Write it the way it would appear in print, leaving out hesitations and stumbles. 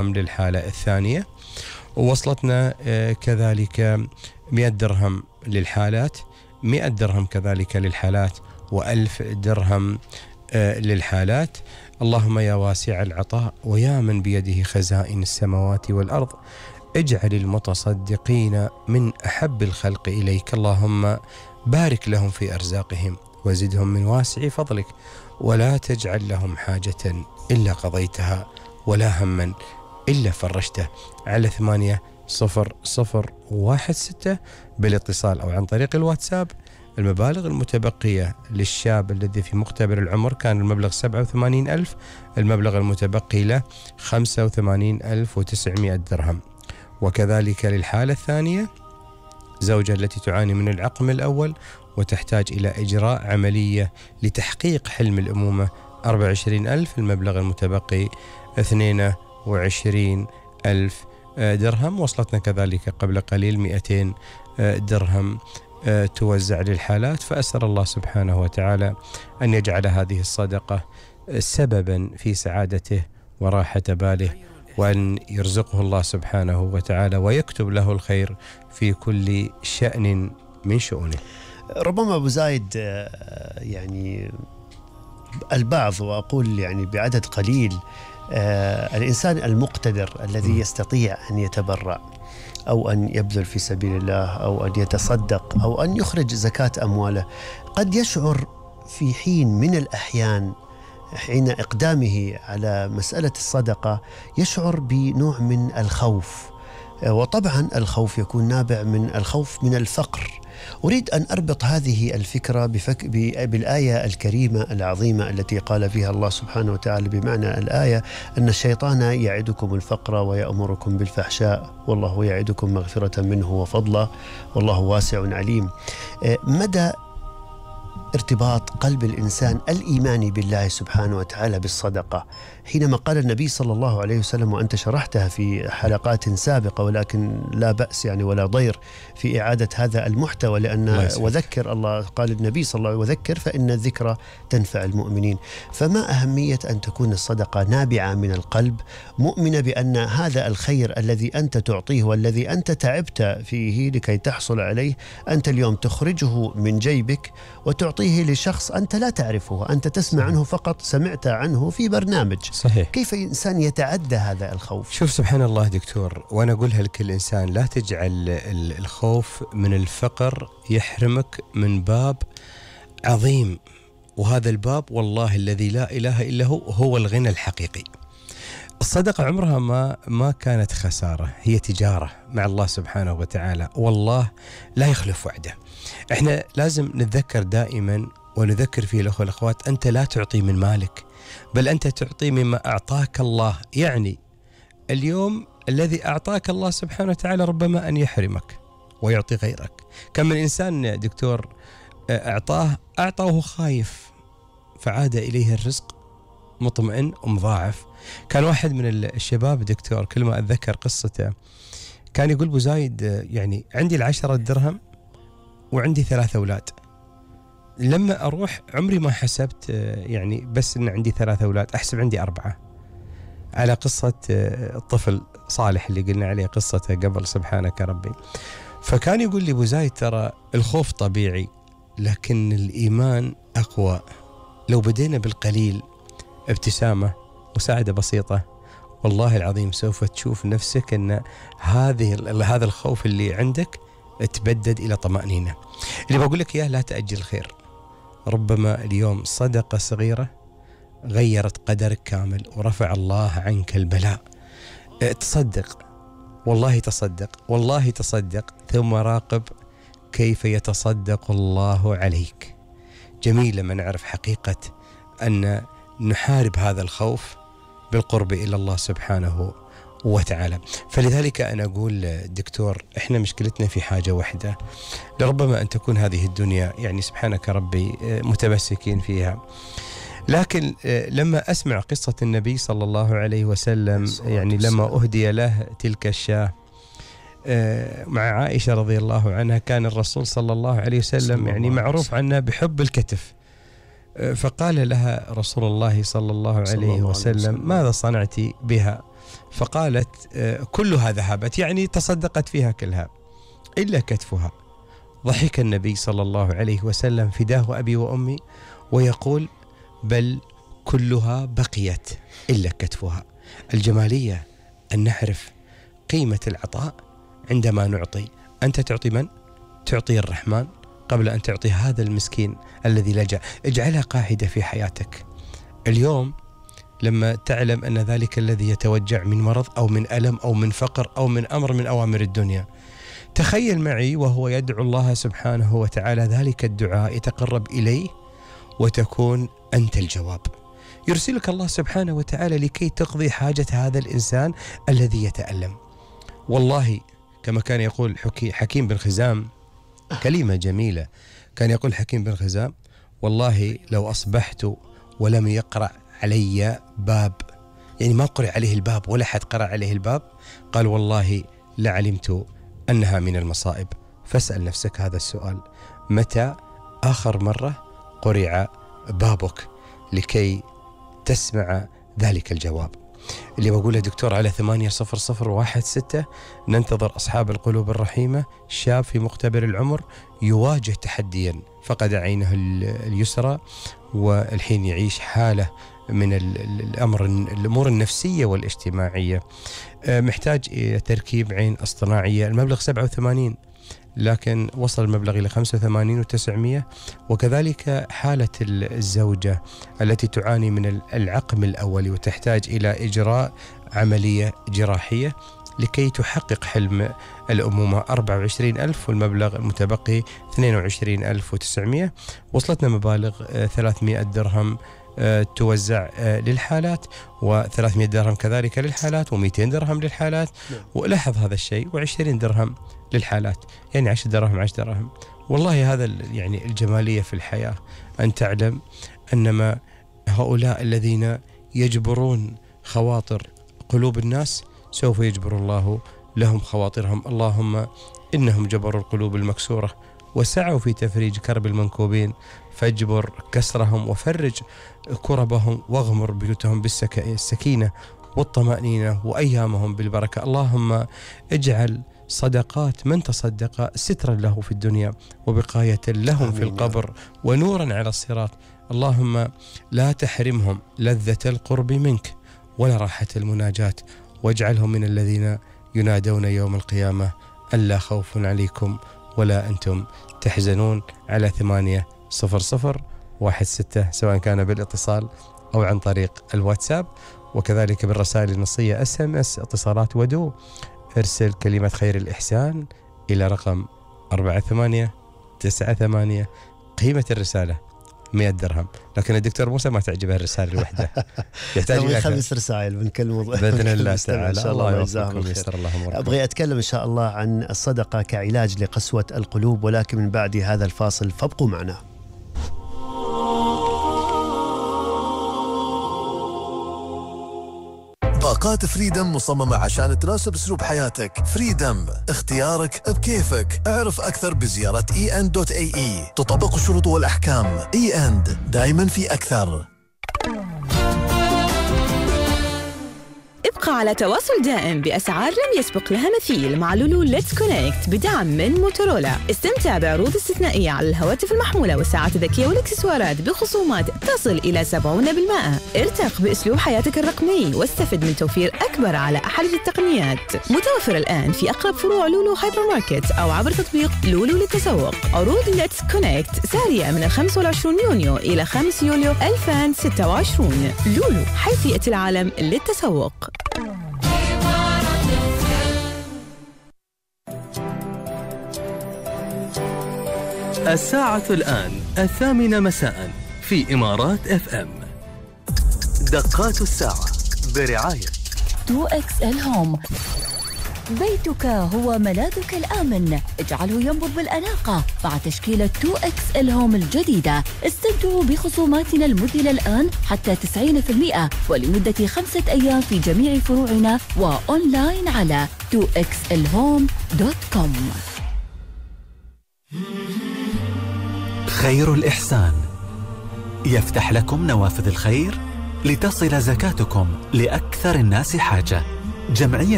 للحالة الثانية، ووصلتنا كذلك 100 درهم للحالات، 100 درهم كذلك للحالات، و1000 درهم للحالات. اللهم يا واسع العطاء ويا من بيده خزائن السماوات والأرض، اجعل المتصدقين من أحب الخلق إليك. اللهم بارك لهم في أرزاقهم وزدهم من واسع فضلك، ولا تجعل لهم حاجة إلا قضيتها ولا هما إلا فرجته. على 8016 بالاتصال أو عن طريق الواتساب. المبالغ المتبقية للشاب الذي في مقتبل العمر كان المبلغ 87,000، المبلغ المتبقي له 85,900 درهم. وكذلك للحالة الثانية، زوجة التي تعاني من العقم الأول وتحتاج إلى إجراء عملية لتحقيق حلم الأمومة، 24,000، المبلغ المتبقي 22,000 درهم. وصلتنا كذلك قبل قليل 200 درهم توزع للحالات. فأسأل الله سبحانه وتعالى أن يجعل هذه الصدقة سببا في سعادته وراحة باله، وأن يرزقه الله سبحانه وتعالى ويكتب له الخير في كل شأن من شؤونه. ربما أبو زايد يعني البعض، وأقول يعني بعدد قليل، الإنسان المقتدر الذي يستطيع أن يتبرع أو أن يبذل في سبيل الله أو أن يتصدق أو أن يخرج زكاة أمواله، قد يشعر في حين من الأحيان حين إقدامه على مسألة الصدقة يشعر بنوع من الخوف، وطبعا الخوف يكون نابع من الخوف من الفقر. أريد أن أربط هذه الفكرة بالآية الكريمة العظيمة التي قال فيها الله سبحانه وتعالى بمعنى الآية أن الشيطان يعدكم الفقر ويأمركم بالفحشاء والله يعدكم مغفرة منه وفضلا والله واسع عليم. مدى ارتباط قلب الإنسان الإيماني بالله سبحانه وتعالى بالصدقة، حينما قال النبي صلى الله عليه وسلم، وأنت شرحتها في حلقات سابقة ولكن لا بأس يعني ولا ضير في إعادة هذا المحتوى، لأن وذكر الله، قال النبي صلى الله عليه وسلم وذكر فإن الذكرى تنفع المؤمنين. فما أهمية أن تكون الصدقة نابعة من القلب، مؤمنة بأن هذا الخير الذي أنت تعطيه والذي أنت تعبت فيه لكي تحصل عليه، أنت اليوم تخرجه من جيبك وتعطيه لشخص أنت لا تعرفه، أنت تسمع عنه فقط، سمعت عنه في برنامج. صحيح. كيف إنسان يتعدى هذا الخوف؟ شوف سبحان الله دكتور، وأنا أقولها لكل إنسان، لا تجعل الخوف من الفقر يحرمك من باب عظيم، وهذا الباب والله الذي لا إله إلا هو الغنى الحقيقي. الصدقة عمرها ما كانت خسارة، هي تجارة مع الله سبحانه وتعالى، والله لا يخلف وعده. احنا لازم نتذكر دائما ونذكر فيه الأخوة والأخوات، أنت لا تعطي من مالك، بل أنت تعطي مما أعطاك الله. يعني اليوم الذي أعطاك الله سبحانه وتعالى ربما أن يحرمك ويعطي غيرك. كم من إنسان دكتور أعطاه وهو خايف، فعاد إليه الرزق مطمئن ومضاعف. كان واحد من الشباب دكتور كل ما أتذكر قصته كان يقول: أبو زايد يعني عندي 10 درهم وعندي 3 أولاد، لما أروح عمري ما حسبت يعني بس إن عندي 3 أولاد، أحسب عندي 4. على قصة الطفل صالح اللي قلنا عليه قصته قبل، سبحانك ربي. فكان يقول لي: أبو زايد ترى الخوف طبيعي لكن الإيمان أقوى. لو بدينا بالقليل، ابتسامة، مساعدة بسيطة، والله العظيم سوف تشوف نفسك أن هذا الخوف اللي عندك تبدد إلى طمأنينة. اللي بقول لك إياه، لا تأجل الخير. ربما اليوم صدقة صغيرة غيرت قدرك كامل ورفع الله عنك البلاء. تصدق، والله تصدق، والله تصدق، ثم راقب كيف يتصدق الله عليك. جميل لما نعرف حقيقة أن نحارب هذا الخوف بالقرب إلى الله سبحانه وتعالى. فلذلك أنا أقول دكتور، إحنا مشكلتنا في حاجة واحدة، لربما أن تكون هذه الدنيا يعني سبحانك ربي متمسكين فيها، لكن لما أسمع قصة النبي صلى الله عليه وسلم، يعني لما أهدي له تلك الشاة مع عائشة رضي الله عنها، كان الرسول صلى الله عليه وسلم يعني معروف عنه بحب الكتف، فقال لها رسول الله صلى الله عليه وسلم: ماذا صنعت بها؟ فقالت كلها ذهبت، يعني تصدقت فيها كلها إلا كتفها. ضحك النبي صلى الله عليه وسلم فداه أبي وأمي ويقول بل كلها بقيت إلا كتفها. الجمالية أن نعرف قيمة العطاء عندما نعطي. أنت تعطي من؟ تعطي الرحمن قبل أن تعطي هذا المسكين الذي لجأ. اجعلها قاعدة في حياتك. اليوم لما تعلم أن ذلك الذي يتوجع من مرض أو من ألم أو من فقر أو من أمر من أوامر الدنيا، تخيل معي وهو يدعو الله سبحانه وتعالى ذلك الدعاء يتقرب إليه وتكون أنت الجواب. يرسلك الله سبحانه وتعالى لكي تقضي حاجة هذا الإنسان الذي يتألم. والله كما كان يقول حكيم بن خزام كلمة جميلة، كان يقول حكيم بن خزام والله لو أصبحت ولم يقرأ علي باب، يعني ما قرأ عليه الباب ولا حد قرأ عليه الباب، قال والله لعلمت أنها من المصائب. فاسأل نفسك هذا السؤال: متى آخر مرة قرع بابك لكي تسمع ذلك الجواب؟ اللي بقوله دكتور على 80016 ننتظر أصحاب القلوب الرحيمة. شاب في مقتبل العمر يواجه تحديا، فقد عينه اليسرى والحين يعيش حالة من الأمور النفسية والاجتماعية، محتاج إلى تركيب عين اصطناعية. المبلغ 87 لكن وصل المبلغ إلى 85,900. وكذلك حالة الزوجة التي تعاني من العقم الأولي وتحتاج إلى إجراء عملية جراحية لكي تحقق حلم الأمومة، 24,000 والمبلغ المتبقي 22,900. وصلتنا مبالغ 300 درهم توزع للحالات، و300 درهم كذلك للحالات، و200 درهم للحالات. ولاحظ هذا الشيء، و20 درهم للحالات، يعني 10 دراهم 10 دراهم. والله هذا يعني الجمالية في الحياة، أن تعلم أنما هؤلاء الذين يجبرون خواطر قلوب الناس سوف يجبر الله لهم خواطرهم. اللهم إنهم جبروا القلوب المكسورة وسعوا في تفريج كرب المنكوبين، فاجبر كسرهم وفرج كربهم واغمر بيوتهم بالسكينة والطمأنينة وأيامهم بالبركة. اللهم اجعل صدقات من تصدق سترا له في الدنيا وبقاية لهم في القبر ونورا على الصراط. اللهم لا تحرمهم لذة القرب منك ولا راحة المناجاة، واجعلهم من الذين ينادون يوم القيامة ألا خوف عليكم ولا أنتم تحزنون. على 80016 سواء كان بالاتصال أو عن طريق الواتساب، وكذلك بالرسائل النصية SMS اتصالات ودو. ارسل كلمة خير الإحسان إلى رقم 4898. قيمة الرسالة 100 درهم، لكن الدكتور موسى ما تعجبه الرسالة الوحدة، يحتاج 5 رسائل من كل موضوع بإذن الله تعالى. الله يجزاهم الخير. أبغى أتكلم إن شاء الله عن الصدقة كعلاج لقسوة القلوب، ولكن من بعد هذا الفاصل، فابقوا معنا. باقات فريدم مصممة عشان تناسب أسلوب حياتك. فريدم اختيارك بكيفك. اعرف أكثر بزيارة en.ae. تطبق الشروط والأحكام. en دائما في أكثر. ابقى على تواصل دائم بأسعار لم يسبق لها مثيل مع لولو ليتس كونكت بدعم من موتورولا. استمتع بعروض استثنائية على الهواتف المحمولة والساعات الذكية والإكسسوارات بخصومات تصل إلى 70%. ارتق بأسلوب حياتك الرقمي واستفد من توفير أكبر على أحدث التقنيات. متوفر الآن في أقرب فروع لولو هايبر ماركت أو عبر تطبيق لولو للتسوق. عروض ليتس كونكت سارية من 25 يونيو إلى 5 يوليو 2026. لولو، حيثية العالم للتسوق. الساعة الآن 8 مساء في إمارات FM. دقات الساعة برعاية 2XL هوم. بيتك هو ملاذك الآمن، اجعله ينبض بالأناقة مع تشكيلة 2XL هوم الجديدة. استمتعوا بخصوماتنا المذهلة الآن حتى 90% ولمدة 5 أيام في جميع فروعنا وأونلاين على 2xlhome.com. خير الإحسان يفتح لكم نوافذ الخير لتصل زكاتكم لأكثر الناس حاجة. جمعية